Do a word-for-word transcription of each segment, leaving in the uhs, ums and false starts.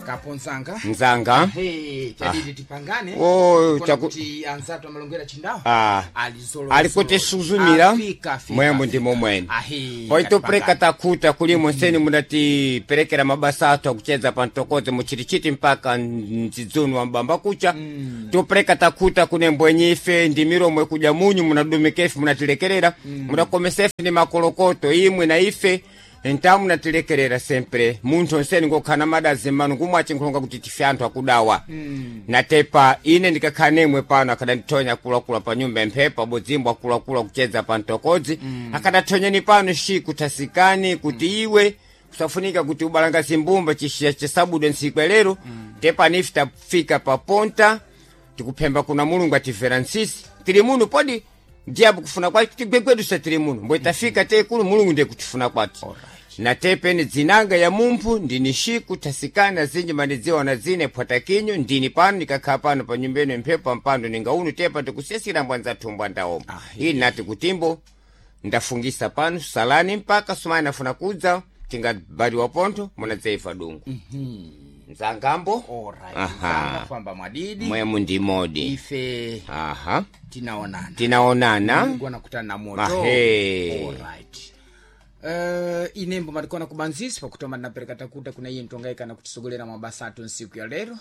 Kaponzanga. Mzanga. Hey, chadidi tipangane. Oh, Kuona chaku- kuti anzatu amalongera chindawo. Ah. Alizolo. Alikutisuzumira Afika, afika, mwembo afika. ndimo mwene. Ahi. Poitopureka katipangane. takuta kulimo nseni munatiperekera mabasa athu akucheza pantokoze muchitichiti mpaka mdzidzunu wa mbamba kucha. mm. Tupureka takuta kune mbwenyife ndi milomo ikuja munyu munadumika ife munatilekerera. mm. Munakomesa ife ndi makolokoto imwe na ife nta munatilekerera sempre munthu onseni ngokhala madazi mmanu ngumwe achinkhulonga kuti tife anthu akudawa. mm. Natepa ine ndikakhala nemwe pano akadandithonya akuluakulu pa nyumba emphepo abodzimbo akuluakulu akucheza pa mtokodzi. mm. Akadathonyeni pano shi kuthasikani kuti mm. iwe kusafunika kuti ubalanga zimbumba chishiya chisabude ntsiku lero. mm. Tepa ife tafika pa ponta tikuphemba kuna Mulungu atimvera nsisi tili muno podi ndiyapo kufuna kwake tigwegwedusa tili muno mbwe tafika tekulu Mulungu ndiye kutifuna kwati. Na tepeni dzinanga ya mumphu ndini Shiku Thasikana zinji mandidziwa na zine phwatakinyo ndini pano ndikakhala pano pa nyumba ino mphepo pampando ninga unu tepa tikusiyasira mbwanzathu mbwandaoma. Ili nati kutimbo ndafungisa pano salani mpaka sumani afuna kudza tingabaliwa pontho munadzaifa dungu. Mzangambo. Alright. Aha. Mzanga famba mwadidi. Mwemu ndimodi. Ife Aha. tinaonana. Tinaonana. Mungu anakutana na moto. Mahe. Alright. Uh, inembo matikona kubanzisi pakutoma ndinapereka takuta kuna iye mtongaikana kutisogolera mabasa atu nsiku ya lero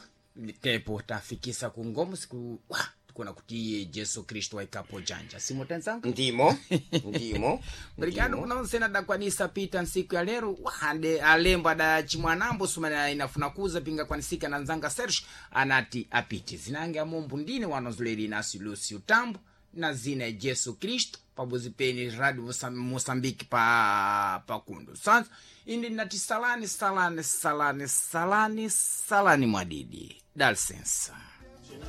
tepo tafikisa ku ngomo siku wa tikuona kuti iye Jesu Kristu waikapo janja simo tanzanga Ndimo. Ndimo. Mrikano kuna onsena dakwanisa pita nsiku ya lero wahande alembo adachimwanambo sumana inafuna kuza pinga kwanisika na nzanga Serge anati apite zinange amombo ndine wanozuleri nasi Lucio Tambo na zina ya Jesu Kristo pabuzi peni Radio Moçam- Moçambique pa pakundo sanso indi nati salani salani salani salani salani mwadidi dalsensa.